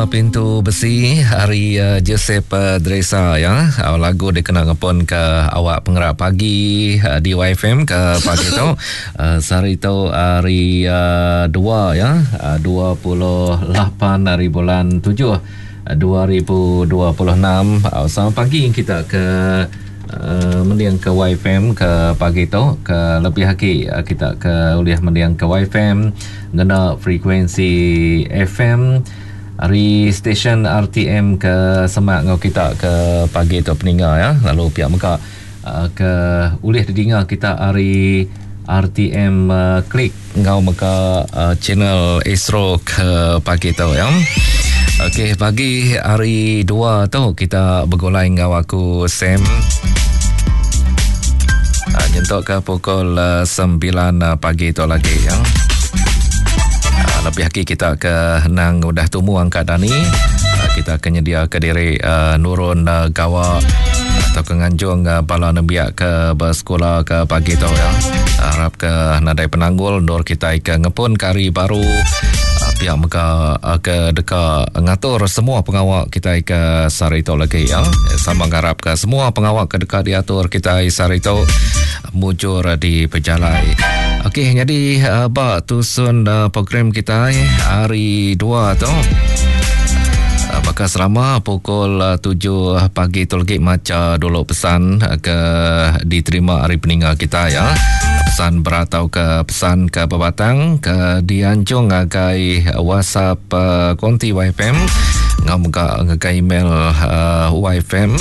Pintu Besi ari Joseph Dresa ya. Lagu dikena ngepun ke awak pengerak pagi di YFM ke pagi tu. Sehari tu hari dua ya, 28 hari bulan 7 2026. Selamat pagi kita ke mending ke YFM ke pagi tu ke lebih agi kita ke ulih mending ke YFM ngena frekuensi FM ari stesen RTM ke semak enggau kita ke pagi tu peninga ya lalu pia mega ke ulih didinga kita ari RTM Klik enggau mega channel Astro ke pagi tu ya. Okey pagi hari dua tu kita begulai enggau aku Sam nyentuk ke pukul 9 pagi tu lagi ya. Lebih lagi kita ke nang udah tumu angkat dani kita ke nyedia ke diri nurun gawa atau ke nganjung bala nembiak ke bersekolah ke pagi tu ya. Harap ke nadai penanggul endur kita ke ngepun ke hari baru pihak mega ke deka ngatur semua pengawa kita ke sehari tu lagi ya. Sama ngarap ke semua pengawa ke deka diatur kita sehari tu mujur di pejalai. Okey, jadi ba tusun program kita hari dua tu baka selama pukul 7 pagi tu lagi macha dulu pesan ke diterima hari peninga kita ya. Pesan berat atau ke pesan ke bebatang ke dianjung ngagai WhatsApp konti YFM ngau mega ngagai email YFM.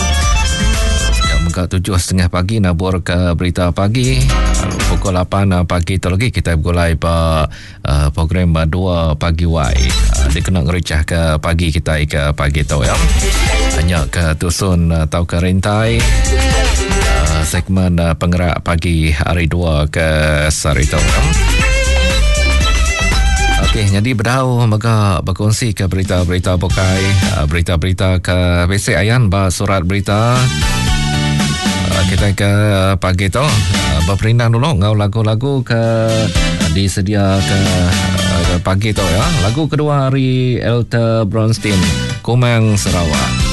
Ya mega 7.30 pagi nabur ke berita pagi. Lalu pukul 8 pagi tu lagi kita bergulai ba program 2 pagi Y. Dikena ngericah ke pagi kita ke pagi tu ya. Hanya ke tusun atau ke rintai segmen penggerak pagi hari 2 ke sehari tu. Okey, jadi bedau mega berkongsi ke berita-berita bukai, berita-berita ke basic ayan ba surat berita. Kita ke pagi tu berperindang dulu ngau lagu-lagu ke disedia ke pagi tu ya. Lagu kedua hari Elter Bronstein, Kumang Sarawak.